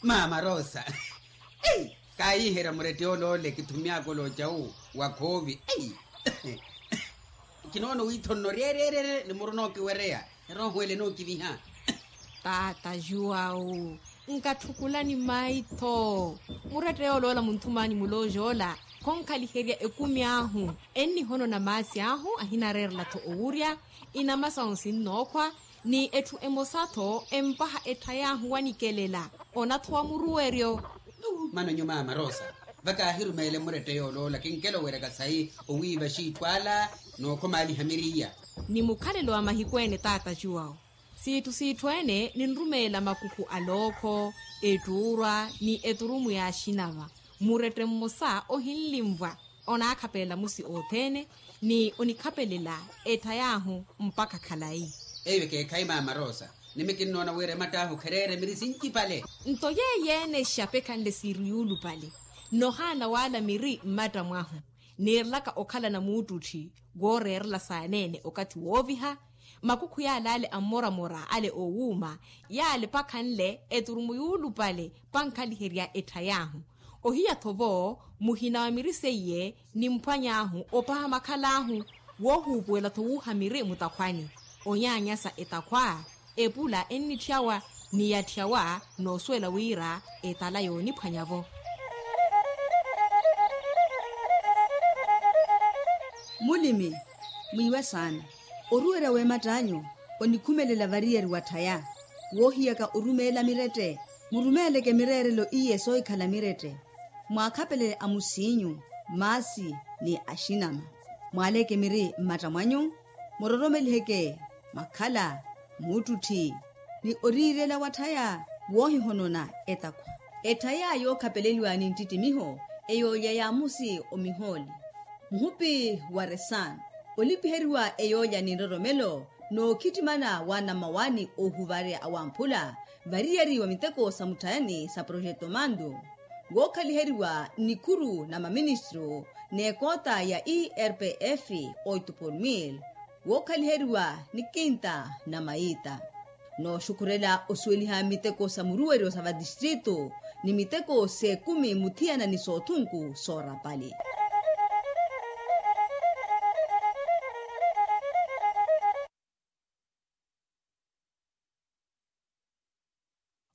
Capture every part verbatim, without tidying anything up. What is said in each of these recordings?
Maama rosa, kayiherya murette olole kithumyaka oloca wu wa khoovi. Kinoona wiitho nno ryeryerye ni muruna okiwereya. Erooho ele nookiviha. Taata juwawu, nkatthukulani maitho. Murette yoloola munthumani mulooja ola khonkhaliherya ekumi ahu. Ennihonona maasi ahu ahinareerela-tho owurya, inama sahu sinnookhwa, ni etthu emosa-tho empaha ettha yaahu wanikelela. Ona-tho wa muruweryo. Mano nyumaama rosa, va kaahirumeele murette yoloola kinkela oweryaka sayi owiiva xiitthu ala, nookhomaaliha miriya. Ni mukhalelo wa mahiku ene taata juwawu, siitthu siitthu ene ninrumeela makukhu a lookho, ettuurwa ni eturumu yaaxinava. Murette mmosa ohinlinvwa onaakhapelela musi othene, ni onikhapelela ettha yaahu mpakha khalayi. Eyo ekeekhayi maama rosa, nimi kinnoona wira ematt'ahu khereere miri sincipale. Nto yeeyo ene exapekhanle siiri yuulupale. Nohaana waala miri mmatta mwahu, niirelaka okhalana muuttutthi wooreerela saaneene okathi wooviha. Makukhu yaale ale ammoramora ale oowuuma, yaale pakhanle eturumu yuulupale pankhaliherya ettha yaahu. Ohiya-tho vo muhina wa miri seiye nimphwany'ahu opaha makhal'ahu. Woohuupuwela-tho wuuha miri mutakhwani, onyaanyasa etakhwa, epula ennitthyawa ni yatthyawa, noosuwela wira etala yooniphwanya-vo. Mulimi, mwiiwe saana. Oruwerya w'ematt'anyu onikhumelela variyari wa tthaya. Woohiyaka orumeela mirette, murumeeleke mireerelo iye soohikhala mirette. Mwaakhapelele amusiinyu, maasi ni axinama. Mwaaleke miri mmatta mwanyu, muroromeliheke makhala, muuttutthi, ni oriirela watthaya woohihonona etakhwa. Etthaya yookhapeleliwa ni nttittimiho, eyoolya ya musi omihooli. Muhupi wa resano, olipiheriwa eyoolya ni nroromelo, nookhittimana wa namawani oohuvarya awamphula variyari wa miteko sa mutthayani sa projeto mandu, wookhaliheriwa nikhuru na maministru n'ekoota ya irpf, oito por mil, wookhaliheriwa ni kinta na mayiita. Nooxukhurela osuweliha miteko sa muruweryo sa vatistritu ni miteko s'ekumi muthiyana ni soothunku soorapali.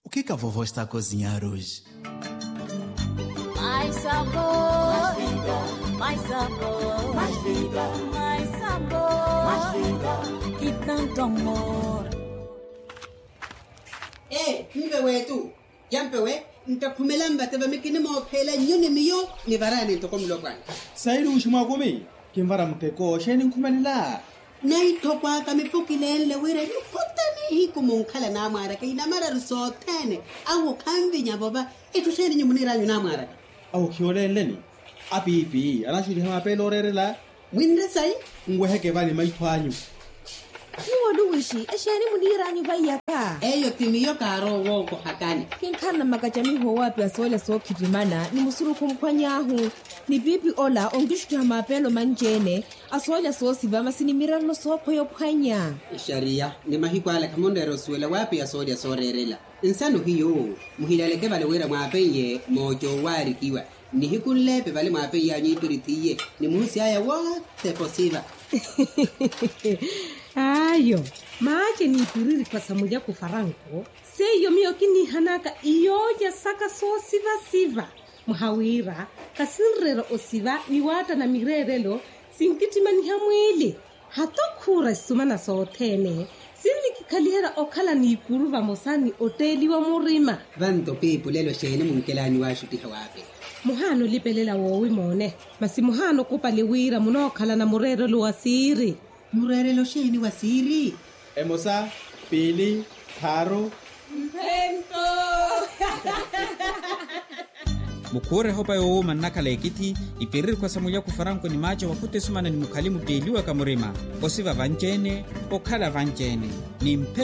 O que que a vovó está a cozinhar hoje? Mais sabor, mais sabor, mais vida, mais sabor, mais vida, e tanto amor. Ee mpe weetu, yampe we nttakhumela mvate vami kinimoopheela nnyo ni miyo nivarani ntoko mulopwana. Sayiruuxi mwakumi, kinvara muteko xeeni nkhumelela? Naitthoko aka mipukilenle wira nikhota nihiku munkhala namwaraka inamararu sothene. Awo khanvinya vova. Itthu xeeni nyu muniiranyu namwaraka? Awo khiyoleenleni. Apiipi anaxuttiha mapeela ooreerela. Mwinre sayi? Nweheke vani maitho anyu. Nyuwo luwishi exeeni muniiranyu vaiyaka? Eyo ti miyo kaarowa wookohakani. Kinkhalana makacamiho owaapiya soolya sookhittimana ni musurukhu mphwany'ahu. Ni piipi ola onkixuttiha mapeelo manci-ene a soolya soosiva masi ni mirerelo sookhweya ophwanya. Exariya ni mahiku ala khamunreera osuwela waapiya soolya sooreerela. Nsano hiyo muhilaleke vale wira mwaapeiye mooca owaarikiwa. Nihiku nleepe vale mwaapeiyanyu ipiritti iye ni muhusi aya wothene posiva. Ayo, maace ni ipiririkhwa sa mulyaku faranko. Seiyo miyo kiniihanaka iyoolya saka soosiva-siva. Mwaha wira khasinreera osiva ni waattana mireerelo. Sinkittimaniha mwiili. Hata okhuura esumana sothene sinnikikhaliherya okhala n'ikuru vamosa ni otteeliwa murima. Vanto piipulelo xeeni munkelanyu waaxuttiha waapeya? Muhaana olipelela woowi moone. Masi muhaana okupale wira munookhalana mureerelo wa siiri. Mureerelo xeeni wa siiri? Emosa, piili, thaaru. Mphento. Mukhuure ehopa yoowuuma nnakhala ekithi. Ipiririkhwa sa mulyaku faranko ni maaca wakhutta esumana ni mukhali mutteeliwaka murima. Osiva vanci-ene, okhala vanci-ene ni mphe.